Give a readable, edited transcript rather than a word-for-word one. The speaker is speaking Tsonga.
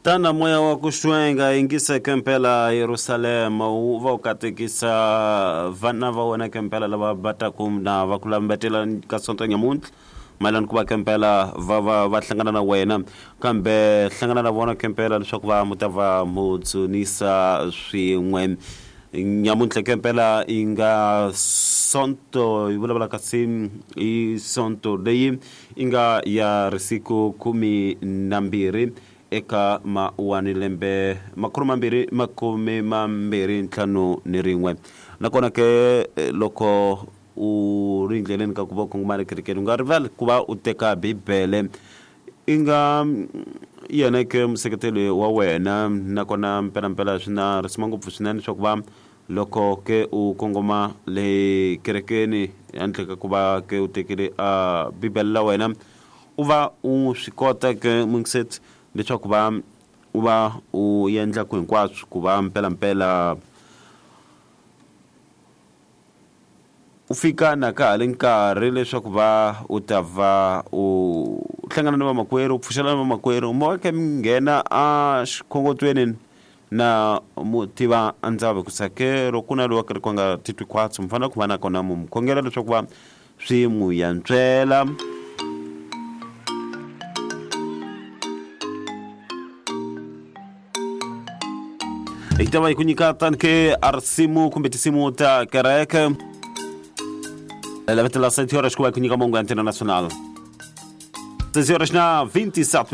Tana moya wa ku xwenga yingisa kempela Yerusalema wu va u katekisa vana va wena kempela lava va taku na va ku lambetela ka sonto nyamuntlha mayelana ku va kempela va va va hlangana na wena kambe hlangana na vona kempela leswaku va mu ta va mu dzunisa swin'we nyamuntlha kempela yi nga sonto yi vulavula kasi i sonto leyi yi nga ya risiku 12 eka mawani lembe 2025 nakona ke loko u ri ndleleni ka ku va u kongoma ekerekeni u nga rivali ku va u teka bibele i nga yena ke museketeli wa wena nakona mpelampela swi na risima ngopfu swinene leswaku va loko ke u kongoma le kerekeni handle ka ku va ke u tekile a bibele la wena u va u swi kota ke mungiseti leswaku va u va u endla ku hinkwaswo ku va mpelampela u fika na ka ha ri nkarhi leswaku va u ta va u hlangana na vamakwerhu u pfuxela na vamakwerhu mo ke mi nghena a xikhongotweni na mu tiva ndzavi ku sake loko ku na loyi wa kereke nga titwi khwatsi mi fanele ku va na kona mu mu khongela leswaku va swi n'wi yantswela. Hi ta va hi ku nyika tani ke a risimu kumbe tinsimu ta kereke lavetela 7 horas ku va hi ku nyika mongo ya Antena Nacional. 6 horas na 27.